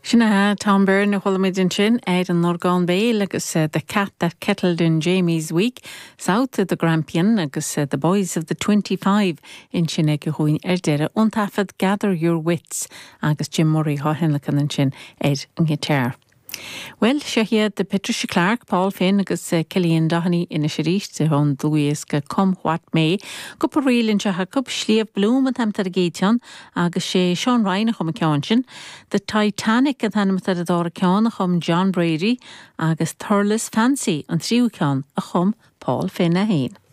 Sin é Tom Byrne a chuala muid ansin ar an orgán béil agus The Cat That Kettled in Jamie's Week, South of the Grampian agus The Boys of the 25 ansin aige dhúinn ar deireadh ón taifead Gather Your Wits agus Jim Murray á thionlacan ansin ar an ngiotár. Bhuel, seo iad Patricia Clarke, Paul Finn agus Cillian Doheny anois arís ón dlúthdhiosca Come What May. Cúpla ríl anseo acu, Sliabh Bloom an t-ainm atá ar an gcéad cheann agus sé Seán Ryan a chum an ceann sin. The Titanic an t-ainm atá ar an dara ceann a chum John Brady agus Thurles Fancy an tríú ceann a chum Paul Finn é féin.